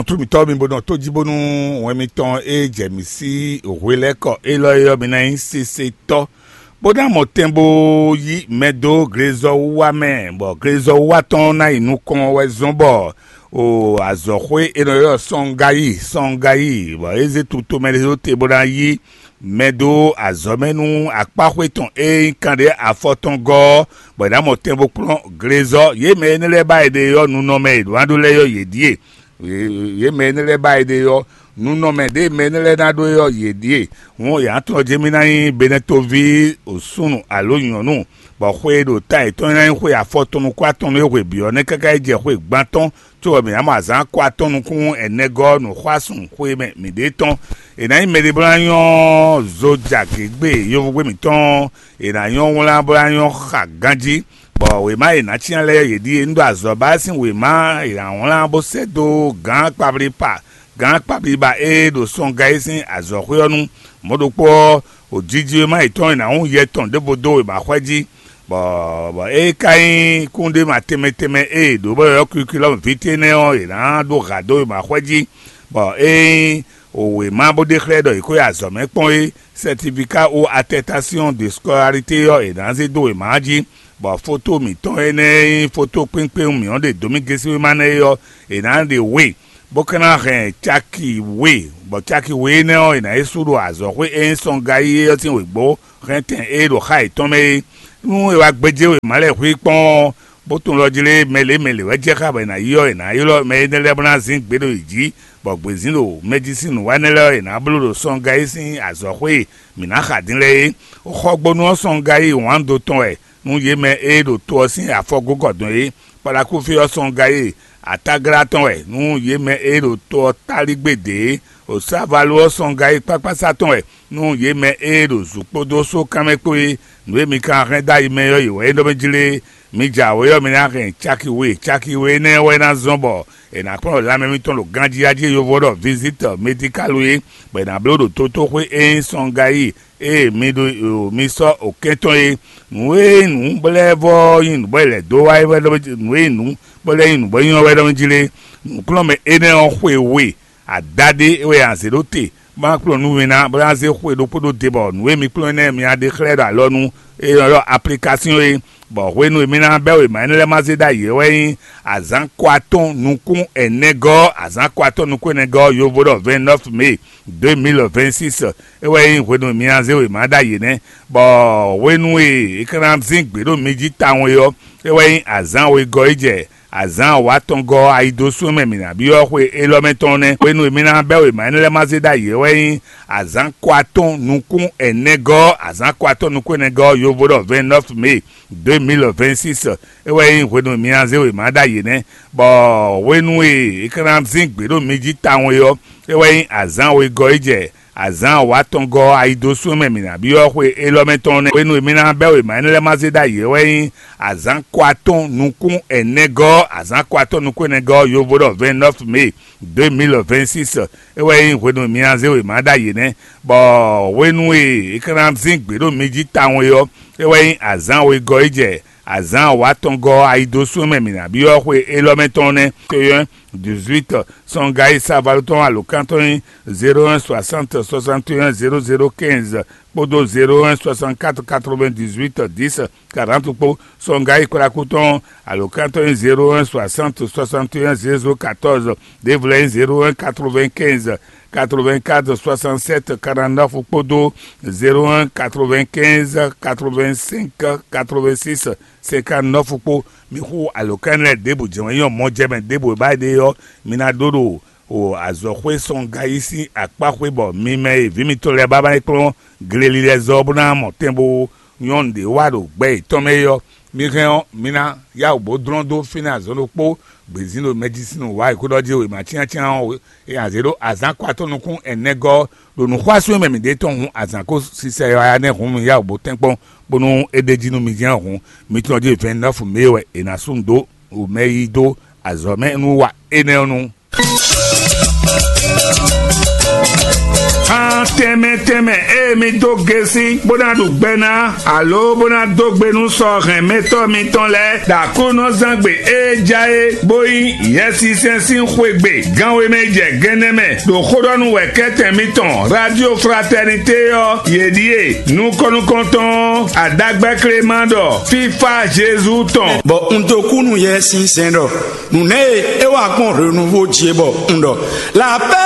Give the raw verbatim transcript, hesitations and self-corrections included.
Nɔtú mǐtɔn mi bó nɔ tó jí bónú wɛn mitɔn e jɛ mǐ sí hwelɛ́kɔ élɔ́ é ɔ́, mi ná nyí sesetɔ́, bó ná mɔ tɛn bó yí mɛ dó glezɔ́wúwa mɛ, bɔ glezɔ́wúwa tɔn ná yi nukɔn wɛ zɔ́n bɔ o azɔ̌xwé e nɔ ylɔ́ Sɔngayi Sɔngayi, bɔ é zé tutomɛ ɖé ɖó te bó ná yí mɛ dó azɔ̌ mɛ nú akpáxwé tɔn e nyí kanɖé afɔ tɔn gɔ́ ɔ́, bɔ è nǎ mɔ tɛn bó kplɔ́n glezɔ́. Yě mɛ énɛ́ lɛ́ɛ ba è ɖe ɔ́, nunɔmɛ e ɖǒ ná ɖó lɛ́ɛ ɔ́, yě ɖíe. Yě mɛ énɛ́ lɛ́ɛ ba è ɖe ɔ́, nunɔmɛ ɖě mɛ énɛ́ lɛ́ɛ ná ɖó é ɔ́, yě ɖíe. Hǔn yě ná tlɔ́ jɛ mì ná nyí Benɛtoví súnnu alo nyɔ̌nu, bɔ xwe e ɖo ta yětɔn e ná nyí xwe afɔtɔn nukún atɔn nú é hwe bǐ ɔ́ nɛ́ káká yi jɛ xwe gban tɔn, có wɛ mǐ ná mɔ azǎn akɔ atɔn nukún ɛnɛ gɔ́ nǔxwásún xwe mɛ mǐɖée tɔn. È nǎ nyí mɛɖé bó ná nyɔ́ zo jɛ agěgbe yovogbé mǐtɔn, è nǎ nyɔ́ wlán bó ná nyɔ́ xa ganjí, bɔ wěma e è nǎ cyán lɛ́ɛ yě ɖíe. Un ɖo azɔ̌ ba sín wěma e è nǎ wlán bó sɛ́ dó gǎn kpablípa gǎn kpablíba e ɖo sɔngá é sín azɔ̌xwé ɔ́ nu. Mɔ̌ ɖokpó ɔ́, wǒjiji wěma yětɔn è nǎ hun yɛ tɔn ɖěvo dó wěmaxwɛ jí, bɔ bɔ é ka nyí kúnɖéma tɛnmɛ tɛnmɛ e è ɖǒ bɔ yɔ̌yɔ́ kwlíkwlí ɔ́ ví tɛ́nɛ́ ɔ́, è nǎ ɖó hǎ dó wěmaxwɛ jí, bɔ é nyí wěma bó ɖe xlɛ́ ɖɔ è ko yi azɔ̌ mɛ kpɔ́n é, certificat ou attestation de scolarité ɔ́, è nǎ zé dó wěma ɔ́ jí, bɔ foto mǐtɔn énɛ́ e nyí foto kpínkpɛ́n mǐ ɔ́ ɖe dǒ mì gésewéma nɛ́ é ɔ́, è nǎ ɖe we, bó ka ná hɛn caki we, bɔ caki we énɛ́ ɔ́, è nǎ yi sú ɖo azɔ̌xwé e nyí sɔngayi é ɔ́ sín wěgbó hɛntɛn e ɖo xá yětɔn mɛ é. Nú è wá gbéjé wěma lɛ́ɛ xwí kpɔ́n ɔ́, bó tunwun ɖɔ jlé mɛ lě mɛ lě wɛ jɛ xá bɔ è nǎ yi ɔ́, è nǎ ylɔ́ mɛ énɛ́ lɛ́ɛ bó ná zín gbe ɖo yě jí, bɔ gbězín ɖo mɛ jí sín nǔwanɛ lɛ́ɛ ɔ́, è nǎ bló ɖo sɔngayi sín azɔ̌xwé e mǐ ná xa din lɛ́ɛ é. Xɔgbónú ɔ́ sɔngayi wǎndo tɔn wɛ nú yě mɛ e ɖo to ɔ́ sín afɔgógɔdɔn é. Kpalakúfí ɔ́ sɔngayi atáglá tɔn wɛ nú yě mɛ e ɖo to ɔ́ tálí gbé dě é. Osávalu ɔ́ sɔngayi kpákpásá tɔn wɛ nú yě mɛ e ɖo zǔ kpódó sókan mɛ kpó é. Nǔ e mi ka hɛn dó ayi mɛ ɔ́, yě wɛ é ɖɔ mɛ jlé. Mi jɛ awě ɔ́, mi ná hɛn caki we. Caki we énɛ́ wɛ ná zɔ́n bɔ è nǎ kplɔ́n lanmɛ mitɔn ɖo ganjí jí e yovo ɖɔ vizitɔ medikalu é, bɔ è nǎ bló ɖo tótóxwé e nyí sɔngayi e mi ɖo mi sɔ́ okɛ́n tɔn é. Nǔ e nyí nǔ bɔ lɛ́ vɔ nyí nǔ bɔ è lɛ̌ dó wá é wɛ ɖɔ nǔ e nyí nǔ bɔ lɛ́ nyí nǔ bɔ nyí ɔ́ wɛ ɖɔ jí lé. Nǔkplɔ́nmɛ énɛ́ ɔ́ xwe we adaɖé wɛ a zě ɖó te, bó ná kplɔ́n nú mi ná, bó ná zé xwe ɖokpó ɖó te, bɔ nǔ e mi kplɔ́n énɛ́ mi ná ɖe xlɛ́ ɖo alɔ nú é nɔ ɖɔ aplikásyon é, bɔ hwenu e mi ná bɛ́ wěma énɛ́ lɛ́ɛ ma zé ɖ'ayǐ é wɛ nyí azǎn kɔ atɔn nukún ɛnɛgɔ́, azǎn kɔ atɔn nukún ɛnɛgɔ́, yovo ɖɔ vingt-neuf mai deux mille vingt-six, é wɛ nyí hwenu e mi ná zé wěma ɖ'ayǐ nɛ́, bɔ hwenu e é ka ná zín gbě ɖo mi jí tawun é ɔ́, é wɛ nyí azǎn wegɔ́ e jɛ azǎn awǎtɔngɔ́ ɔ́, ayidosú e mɛ mǐ ná byɔ́ xwe élɔ́ mɛ tɔn nɛ́. Hwenu e mi ná bɛ́ wěma énɛ́ lɛ́ɛ ma zé ɖ'ayǐ é wɛ nyí azǎn kɔ atɔn nukún ɛnɛgɔ́, azǎn kɔ atɔn nukún ɛnɛgɔ́, yovo ɖɔ vingt-neuf mai deux mille vingt-six, é wɛ nyí hwenu e mi ná zé wěma ɖ'ayǐ nɛ́, bɔ hwenu e é ka ná zín gbě ɖo mi jí tawun é ɔ́, é wɛ nyí azǎn wegɔ́ e jɛ azǎn awǎtɔngɔ́ ayidosú e mɛ mǐ ná byɔ́ xwe élɔ́ mɛ tɔn nɛ́. Hwenu e mi ná bɛ́ wěma énɛ́ lɛ́ɛ ma zé ɖ'ayǐ é wɛ nyí azǎn kɔ atɔn nukún ɛnɛgɔ́, azǎn kɔ atɔn nukún ɛnɛgɔ́, yovo ɖɔ vingt-neuf mai deux mille vingt-six, é wɛ nyí hwenu e mi ná zé wěma ɖ'ayǐ nɛ́, bɔ hwenu e é ka ná zín gbě ɖo mi jí tawun é ɔ́, é wɛ nyí azǎn wegɔ́ e jɛ azǎn awǎtɔngɔ́ ayidosú e mɛ mǐ ná byɔ́ xwe élɔ́ mɛ tɔn nɛ́. Keyɔ́n dix-huit, sɔngayi savalutɔn alǒkan tɔn nyí zéro un soixante soixante et un zéro zéro quinze kpódó zéro un soixante-quatre quatre-vingt-dix-huit dix quarante kpó. Sɔngayi kplákú tɔn alǒkan tɔn nyí zéro un soixante soixante et un zéro quatorze, ɖěvo lɛ́ɛ nyí zéro un quatre-vingt-quinze quatre-vingt-quatre soixante-sept quarante-neuf kpódó zéro un quatre-vingt-quinze quatre-vingt-cinq quatre-vingt-six cinquante-neuf kpó. Mi xú alǒkan lɛ́ɛ ɖěbǔ jɛ́n wɛ nyí mɔjɛmɛ ɖěbǔ e ba ɖe ɔ́, mi ná ɖó ɖo o azɔ̌xwé sɔngayi sín akpá xwé, bɔ mi mɛ e vǐ mitɔn lɛ́ɛ ba ma yi kplɔ́n gleli lɛ́ɛ zɔ bó ná mɔ tɛn bó nyɔ́ nǔɖé wa ɖo gbɛ yětɔn mɛ é ɔ́, mi hɛn ɔ́, mi ná yá wǔ bó dlɔ́n dó fínɛ́ azɔn ɖokpó gbězín ɖo mɛjísínú wá yi kúɖɔ jí wěma cyáncyán ɔ́, e azě ɖó azǎn kɔ atɔ́ nukún ɛnɛgɔ́ ɖo nǔxwásún e mɛ mǐ ɖe tɔn hǔn azǎn ko sisɛ yɔya nɛ́ hǔn mi yá wǔ bó tɛ́nkpɔ́n, bónú é ɖ'é jí nú mi jɛ́n hǔn, mi tunwun jí vingt-neuf mai wɛ è nǎ sú nǔ dó mɛ yí dó azɔ̌ mɛ nú wa énɛ́ ɔ́ nu. Tɛnmɛ tɛnmɛ e mi dó gesi bó ná ɖu gbɛ ná, alo bó ná dó gbe nú sɔhɛnmɛtɔ́ mitɔn lɛ́ɛ, ɖo Aklúnɔzángbe e ja é, bó nyí Yɛsinsɛn sín xwegbe, gan we mɛ jɛ gɛnɛ mɛ, ɖo xó ɖɔ nú wɛ̌kɛ́tɛn mitɔn Radio Fraternité ɔ́, yě ɖíe: nukɔn-nukɔntɔn ɔ́, Aɖagbɛ́ Klema ɖɔ: Fífá Jezu tɔn. Bɔ un dó kú nú Yɛsinsɛn ɖɔ nǔ nɛ́ e é wa gbɔn hwenu vo jí é bɔ un ɖɔ: La paix.